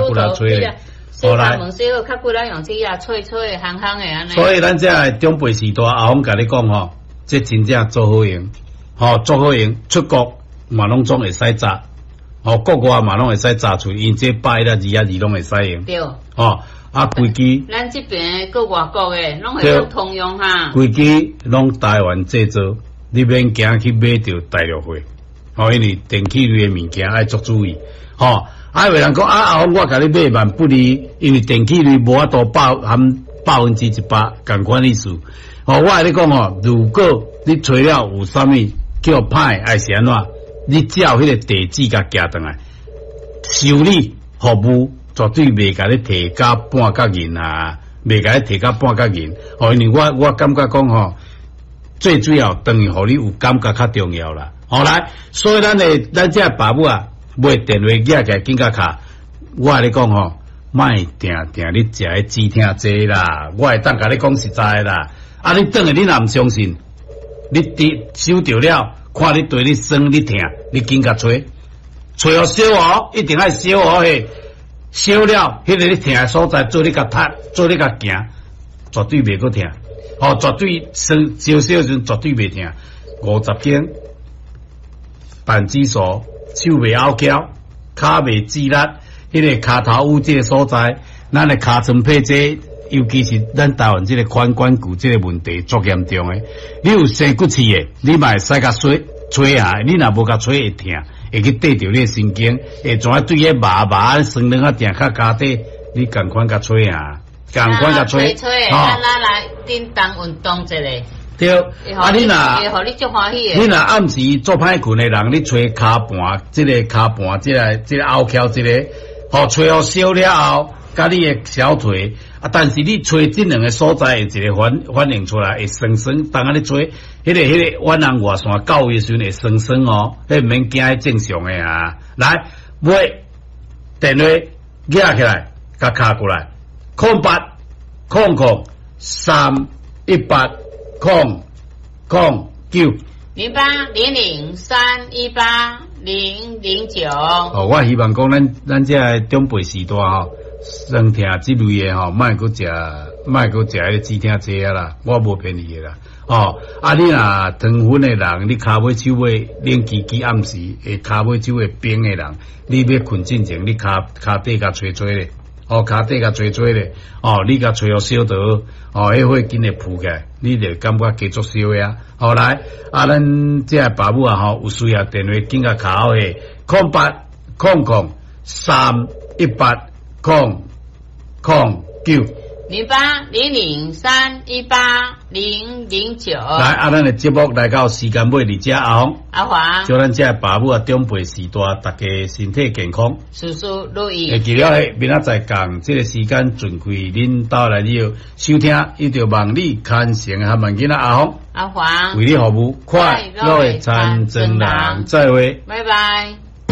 骨力揣咧。洗頭毛洗好，較骨力用這啊脆脆的、香香的按呢。所以咱這个長輩時代阿峰共你講吼，這真正足好用，吼足好用，出國嘛攏總會使紮，吼國外嘛攏會使紮出，因這百一啊二啊二攏會使用。對。吼啊，規支。咱這邊閣外國的攏會當通用哈。規支攏台灣製造，你免驚去買著大陸貨，吼，因為電器類的物件愛足注意，吼。啊，有人講啊，阿峰，我共你買萬不離，因為電器類無法度百含100%仝款意思。吼，我共你講吼，如果你揣了有啥物叫歹，還是按怎，你照彼個地址共寄轉來，修理服務絕對袂共你提甲半角銀啊，袂共你提甲半角銀。吼，因為我感覺講吼，最主要等於予你有感覺較重要啦。好來，所以咱的咱這爸母啊。買電話舉起來緊共敲，我共你講吼，莫定定咧食彼止疼劑啦，我會當共你講實在的啦。啊，你轉來你若毋相信，你佇收著了，看你對你酸你疼，你緊共揣，揣予燒哦，一定愛燒哦嘿，燒了，彼個你疼的所在做你共踢，做你共行，絕對袂閣疼，吼，絕對酸燒燒的時陣絕對袂疼。50間，扳機鎖。手袂拗撬，跤袂蹠力，彼個跤頭趺這个所在，咱的尻川皮這，尤其是咱台灣這个髖關骨這个問題足嚴重的。你有生骨刺的，你嘛會使共吹吹下，你若無共吹會疼，會去綴著你的神經，會怎對彼麻麻酸軟仔定較跤底，你仝款共吹下，仝款共吹，咱來叮當運動一下。對，啊你若，你若暗時做歹睏的人，你揣跤盤，這个跤盤，這个這个拗撬，這个，吼揣予燒了後，佮你的小腿，啊，但是你揣這兩个所在會一个反應出來，會酸酸，當按呢揣，彼个阮人外線到位的時陣會酸酸哦，彼毋免驚，正常的啊。來，尾電話舉起來，共敲過來，08000318009 0800318009。哦，我希望講咱這个長輩時代吼，酸疼這類的吼，莫閣食，莫閣食彼個止疼劑啊啦，我無騙你的啦。哦，啊，你若糖分的人，你跤尾手尾冷吱吱暗時會跤尾手會冰的人，你欲睏進前，你跤跤底共揣揣咧。哦，跤底共揣揣咧，哦，你共揣予燒就好，哦，彼火緊會浮起來，你就感覺加足燒的啊。好來，啊，咱這个爸母啊吼，有需要電話緊共敲的，0800318009。0800318009。來，啊，咱的節目來到時間尾佇遮，阿峰、阿華，祝咱這个爸母啊長輩時代，大家身體健康，事事如意。會記了嘿，明仔載仝這个時間準開恁兜來了收聽，伊著望你牽成和萬囡仔阿峰、阿華，為你服務，快樂的田莊人，再會，拜拜。